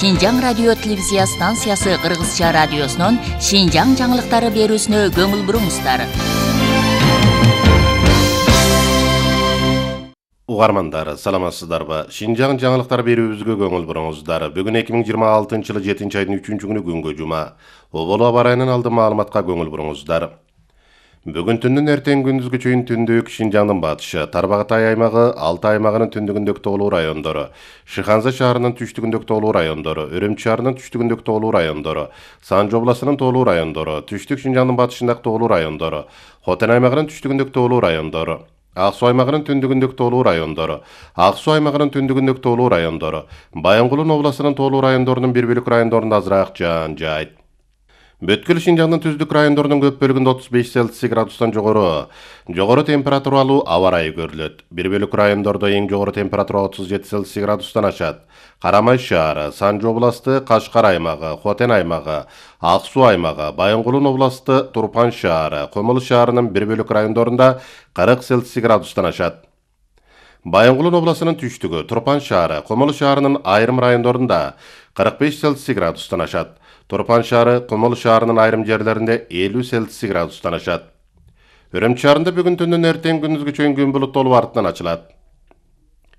Шинжаң радио телевизия станциясы Кыргызча радиосунун Шинжаң жаңылыктары берүүсүнө көңүл буруңуздар. Угармандар, саламатсыздарбы? Шинжаң жаңылыктар берүүбүзгө көңүл буруңуздар. Бүгүн 2026-жылы 7-айдын 3-күнү күнгө жума. Оболу аба ырайынан алдын маалыматка көңүл буруңуздар. Бүгүн түндүн эртең күндүзгө чейин түндүк Шинжаңдын батышы, Тарбагатай аймагы, Алтай аймагынын түндүгүндөгү тоолуу райондору, Шыханза шаарынын түштүгүндөгү тоолуу райондору, Өрөмчү шаарынын түштүгүндөгү тоолуу райондору, Санжы областынын тоолуу райондору, Түштүк Шинжаңдын батышындагы тоолуу райондору, Хотен аймагынын түштүгүндөгү тоолуу райондору, Ак Суу аймагынын түндүгүндөгү тоолуу райондору, Ак Суу аймагынын түндүгүндөгү тоолуу райондору, Баянгулун областынын тоолуу райондорунун бир бөлүк райондорунда азыраак жаан жаайт. Бүткүл Шинжаңдын түздүк райондорунун көп бөлүгүндө 35 Цельсий градустан жогору температуралуу аба ырайы көрүлөт. Бир бөлүк райондордо эң жогору температура 37 Цельсий градустан ашат. Карамай шаары, Санжы областы, Кашкар аймагы, Хотен аймагы, Ак Суу аймагы, Баянгулун областы, Турпан шаары, Комул шаарынын бир бөлүк райондорунда 40 Цельсий градустан ашат. Баянгулун областынын түштүгү, Турпан шаары, Комул шаарынын айрым райондорунда 45 Цельсий градустан ашат. Турпан шаары, Комул шаарынын айрым жерлеринде 50 Цельсий градустан ашат. Өрөмчү шаарында бүгүн түндүн эртең күндүзгө чейин күн булуттуу артынан ачылат.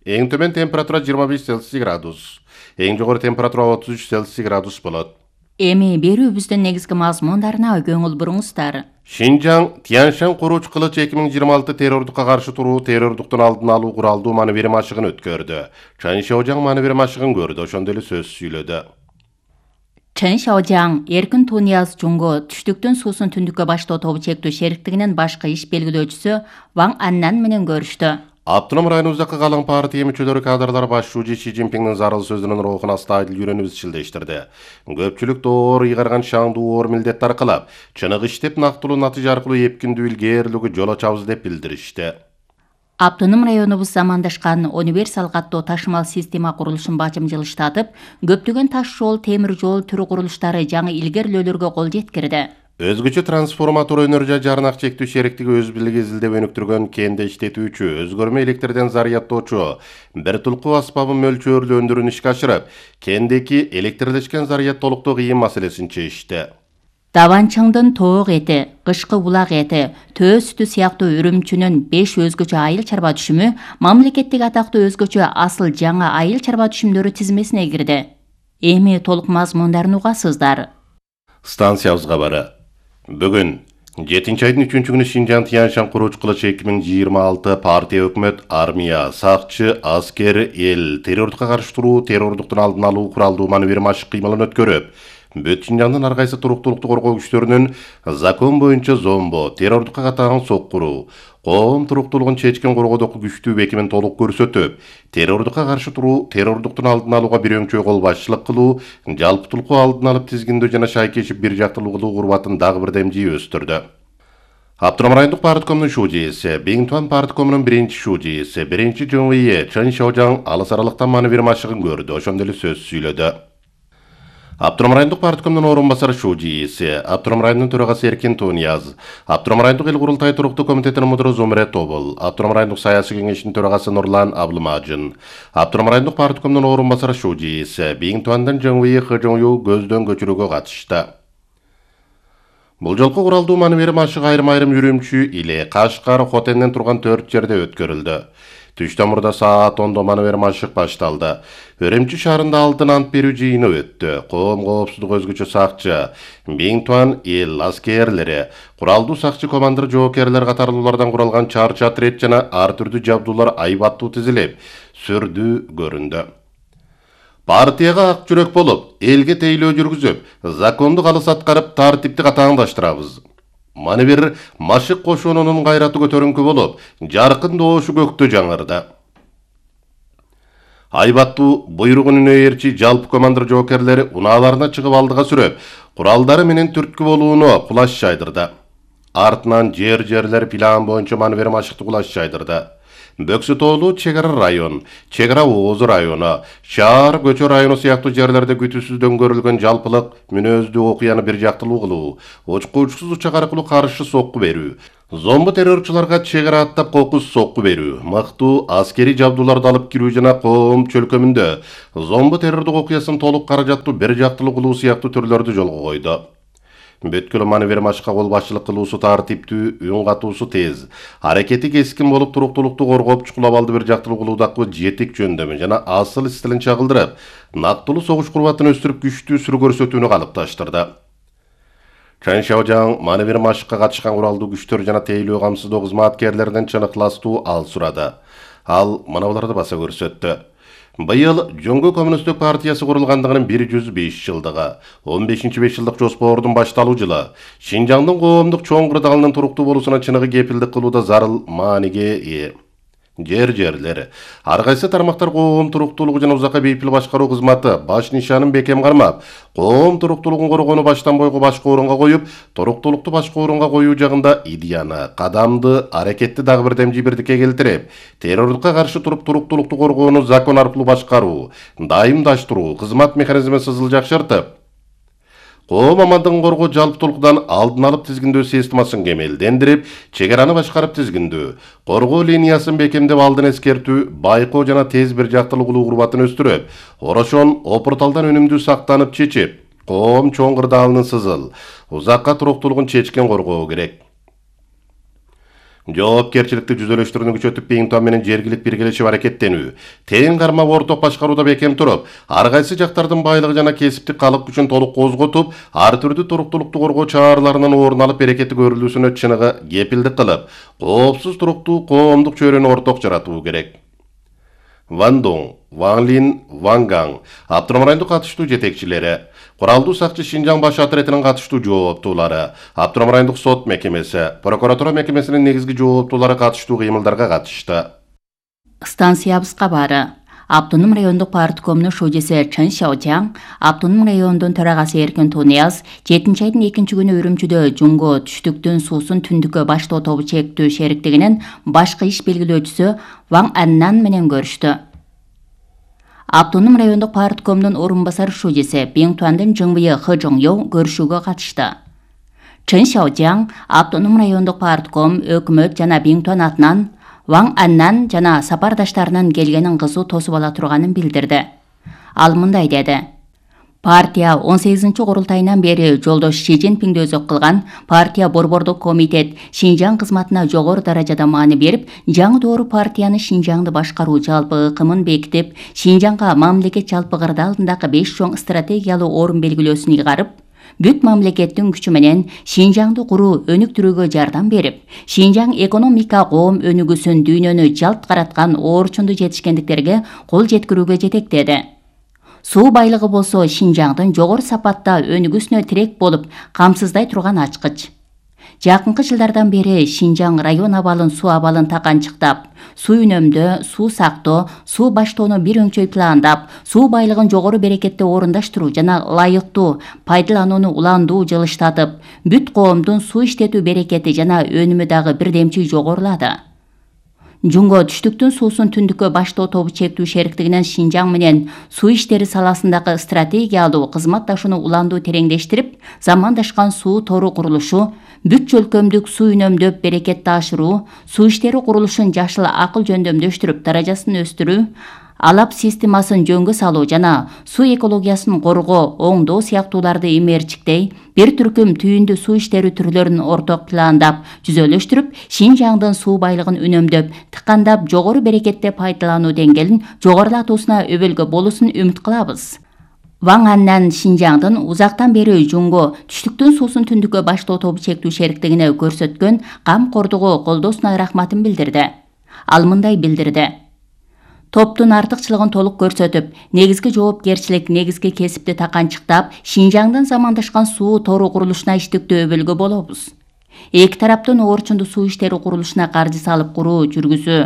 Эң төмөн температура 25 Цельсий градус, эң жогору температура 33 Цельсий градус болот. Эми берүүбүздүн негизги мазмундарына көңүл буруңуздар. Шинжаң Тянь-Шань курууч кылыч 2026 террордукка каршы туруу, террордуктун алдын алуу куралдуу маневри машыгын өткөрдү. Чан Шаожаң маневри машыгын көрдү, ошондой эле сөз сүйлөдү. Чан Шаожаң Эркин Тунияз Жунго түштүктүн суусун түндүккө баштоо тобу чектүү шериктигинин башкы иш белгилөөчүсү Ван Аннан менен көрүштү. Автоном районубуздагы калың партия мүчөлөрү кадрлар башчы Ши Цзиньпиңдин зарыл сөзүнүн рухун астайыл үйрөнүп изчилдештирди. Көпчүлүк доор ыйгарган шаңдуу оор милдет аркылап, чыныгы иштеп нактылуу натыйжа аркылуу эпкиндүү илгээрлүүгө жол ачабыз деп билдиришти. Автоном районубуз замандашкан универсал каттоо ташымал система курулушун бажымжылыштатып, көптөгөн таш жол, темир жол түрү курулуштары жаңы илгерлөөлөргө кол жеткирди. Өзгөчө трансформатор өнөр жай жарнак чектүү шериктиги өз билиги изилдеп өнүктүргөн кенде иштетүүчү, өзгөрмө электрден зарядтоочу, бир тулкуу аспабын мөлчөрлүү өндүрүүнү ишке ашырып, кендеки электрлешкен зарядтолуктуу кыйын маселесин чечти. Даванчыңдын тоок эти, кышкы булак эти, төө сүтү сыяктуу Үрүмчүнүн 5 өзгөчө айыл чарба түшүмү мамлекеттик атактуу өзгөчө асыл жаңа айыл чарба түшүмдөрү тизмесине кирди. Эми толук мазмундарын угасыздар. Станциябызга бары. Бүгүн 7-айдын 3-күнү Шинжаң Тянь-Шань курууч кылыч 2026 партия, өкмөт, армия, сакчы, аскер, эл террордукка каршы туруу, террордуктун алдын алуу куралдуу маневри машык кыймылын өткөрүп, бүт Шинжаңдын ар кайсы туруктуулукту коргоо күчтөрүнүн закон боюнча зомбо, террордукка катаган соккуруу, коом туруктуулугун чечкен коргоодогу күчтүү бекимин толук көрсөтүп, террордукка каршы туруу, террордуктун алдын алууга бир өңчөй кол башчылык кылуу, жалптуулукку алдын алып тизгиндөө жана шайкешип бир жактылуу кылуу курбатын дагы бир демжи өстүрдү. Автоном райондук парткомдун шужиси, Биңтуан парткомунун биринчи шужиси, биринчи ЖМВ Чан Шаожаң алыс аралыктан маневри машыгын көрдү, ошондой эле сөз сүйлөдү. Автоном райондук парткомдун орун басары шужиси, Автоном районунун төрагасы Эркин Тунияз, Автоном райондук эл курултай туруктуу комитетинин мудуру Зумрет Тобул, Автоном райондук саясий кеңештин төрагасы Нурлан Аблымажын, Автоном райондук парткомдун орун басары шужиси, Биңтуандын ЖМВ ХЖЮ көздөн көчүрүүгө катышты. Бул жолку куралдуу маневри машык айрым-айрым Үрүмчү, Иле, Кашкар, Хотенден турган 4 жерде өткөрүлдү. Түш тамурда саат 10 маневри машык башталды. Өрөмчү шаарында алтын ант берүү жыйыны өттү. Коом коопсуздук өзгөчө сакчы, Биңтуан эл аскерлери, куралдуу сакчы командир жоокерлер катарлуулардан куралган чарчы отряд жана ар түрдүү жабдуулар айбаттуу тизилип, сүрдүү көрүндү. Партияга ак жүрөк болуп, элге тейлөө жүргүзүп, законду калыс аткарып, тартипти катааңдаштырабыз. Маневр машык кошуунунун кайраты көтөрүңкү болуп, жаркын доошу көктө жаңырды. Айбаттуу буйругун үнөйерчи жалпы командир жоокерлери унааларына чыгып алдыга сүрөп, куралдары менен түрткү болууну кулаш жайдырды. Артынан жерлер план боюнча маневри машыкты кулаш жайдырды. Бөксү тоолу чек ара район, чек ара ооз району, шаар көчө району сыяктуу жерлерде күтүүсүздөн көрүлгөн жалпылык мүнөздүү окуяны бир жактылуу кылуу, учкучсуз учак аркылуу каршы сокку берүү, зомбу террорчуларга чек ара аттап кокус сокку берүү, мыктуу аскерий жабдууларды алып кирүү жана коом чөлкөмүндө зомбу террордук окуясын толук каражаттуу бир жактылуу кылуу сыяктуу түрлөрдү жолго койду. Бүткүл маневер машка кол башчылык кылуусу тартиптүү, үн катуусу тез, аракети кескин болуп туруктуулукту коргоп чукулап алды бир жактылуу кылуудагы жетик жөндөмү жана асыл стилин чагылдырып, нактылуу согуш курбатын өстүрүп күчтүү сүрү көрсөтүүнү калыпташтырды. Чан Шаожаң маневер машыкка катышкан куралдуу күчтөр жана тейлөө камсыздоо кызматкерлеринен чыныкталастуу ал сурады. Ал мына буларды баса көрсөттү. Быйыл Жоңгө Коммунисттик партиясы курулгандыгынын 105 жылдыгы, 15-5 жылдык жоспордун башталуу жылы, Шинжаңдын коомдук чоң кырдаалынын туруктуу болуусуна чыныгы кепилдик кылууда зарыл мааниге ээ. Жерлер. Ар кайсы тармактар коом туруктуулугу жана узакка бейпил башкаруу кызматы баш нишанын бекем кармап, коом туруктуулугун коргоону баштан бойго башка орунга коюп, туруктуулукту башка орунга коюу жагында идеяны, кадамды, аракетти дагы бир демжи бирдикке келтирип, террордукка каршы туруп туруктуулукту коргоону закон аркылуу башкаруу, дайымдаштыруу, кызмат механизмин сызыл жакшыртып, коом амандыгын коргоо жалптуулуктан алдын алып тизгиндөө системасын кемелдендирип, чек араны башкарып тизгиндөө, коргоо линиясын бекемдеп алдын эскертүү, байкоо жана тез бир жактылуу кылуу курбатын өстүрүп, орошон опурталдан өнүмдүү сактанып чечип, коом чоң кырдаалынын сызыл, узакка туруктуулугун чечкен коргоо керек. Жоопкерчиликти жүзөлөштүрүүнү күчөтүп, Бейинтон менен жергилик биргелешип аракеттенүү, тең кармап орток башкарууда бекем туруп, ар кайсы жактардын байлыгы жана кесиптик калык күчүн толук козготуп, ар түрдүү туруктуулукту коргоо чараларынын орун алып берекети көрүлүүсүнө чыныгы кепилдик кылып, коопсуз туруктуу коомдук чөйрөнү орток жаратуу керек. Ван Дong, Ван Лин, Ван Гаң, Автоном райондук катыштуу жетекчилери, Куралдуу сакчы Шинжаң баш отретинин катыштуу жооптуулары, Автоном райондук сот мекемеси, прокуратура мекемесинин негизги жооптуулары катыштуу кыймылдарга катышты. Станциябызга бары. Автоном райондук парткомунун шужеси Чан Шаожаң, Автоном районунун төрагасы Эркин Тунияз 7-айдын 2 күнү Үрүмчүдө Жумго түштүктүн суусун түндүккө баштоо тобу чектүү шериктигинин башкы иш белгилөөчүсү Ван Аннан менен көрүштү. Автоном райондук парткомунун орун басар шужеси Бейинтуандын Жыңбыйы Хы Жоңё көрүшүүгө катышты. Чан Шаожаң Автоном райондук партком, өкмөт жана Бейинтуан атынан Ван Аннан жана сапардаштарынын келгенин кызуу тосуп ала турганын билдирди. Ал мындай деди. Партия 18-курултайынан бери жолдош Ши Цзиньпинди өзөк кылган партия борбордук комитет Шинжаң кызматына жогору даражада маани берип, жаңы доору партияны Шинжаңды башкаруу жалпы ыкымын бекитип, Шинжаңга мамлекет жалпы кырдаалындагы 5 чоң стратегиялуу орун белгилөөсүн ыйгарып, бүт мамлекеттин күчү менен Шинжаңды куруу өнүктүрүүгө жардам берип, Шинжаң экономика коом өнүгүүсүн дүйнөнү жалт караткан оорчунду жетишкендиктерге кол жеткирүүгө жетектеди. Суу байлыгы болсо Шинжаңдын жогору сапатта өнүгүүсүнө тирек болуп, камсыздай турган ачкыч. Жакынкы жылдардан бери Шинжаң район абалын суу абалын таканчыктап, суу үнөмдөө, суу сактоо, суу баштоону бир өңчөй пландап, суу байлыгын жогору берекетте орундаштыруу жана ылайыктуу пайдаланууну уландуу жылыштатып, бүт коомдун суу иштетүү берекети жана өнүмү дагы бирдемчи жогорулады. Жумго түштүктүн суусун түндүккө баштоо тобу чектүү шериктигинен Шинжаң менен суу иштери саласындагы стратегиялуу кызматташууну уландуу тереңдештирип, замандашкан суу тору курулушу, бүт чөлкөмдүк суу үнөмдөп берекетти ашыруу, суу иштери курулушун жашыл акыл жөндөмдөштүрүп даражасын өстүрүү, алап системасын жөнгө салуу жана суу экологиясын коргоо, оңдоо сыяктууларды имээрчиктей, бир түркүм түйүндүү суу иштери түрлөрүн орток пландап, жүзөлөштүрүп, Шинжаңдын суу байлыгын үнөмдөп, тыкандап, жогору берекетте пайдалануу деңгээлин жогорулатуусуна өбөлгө болуусун үмүт кылабыз. Ван Аннан Шинжаңдын узактан бери Жумго түштүктүн суусун түндүккө баштоо тобу чектүү шериктигине көрсөткөн камкордугу колдоосуна рахматын билдирди. Ал мындай билдирди. Топтун артыкчылыгын толук көрсөтүп, негизги жоопкерчилик, негизги кесипти таканчыктап, Шинжаңдын замандашкан суу тору курулушуна иштиктүү өбөлгө болобуз. Эки тараптын оорчунду суу иштери курулушуна каржы салып куруу жүргүзүү.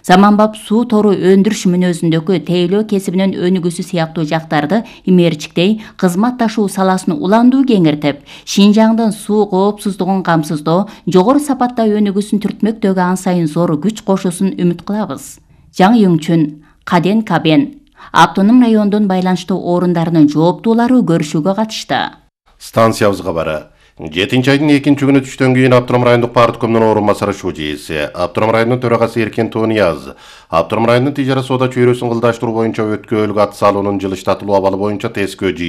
Заманбап суу тору өндүрүш мүнөзүндөгү тейлөө кесибинин өнүгүүсү сыяктуу жактарды имээрчиктей кызматташуу саласын уландуу кеңиртип, Шинжаңдын суу коопсуздугун камсыздоо, жогору сапатта өнүгүүсүн түртмөктөгү ан сайын зор күч кошуусун үмүт кылабыз. Жаң Юңчүн, Каден Кабен автоном райондун байланыштуу орундарынын жооптуулары көрүшүүгө катышты. Станциябыз кабары. 7 айдын 2 күнү түштөн кийин Автоном райондук парткомдун орун басары шужийси, Автоном районунун төрагасы Эркен Тонияз, Автоном районунун тижара соода чөйрөсүн кылдаштыруу боюнча өткөөлгө ат салуунун жылыштатылуу абалы боюнча тескөө жыйын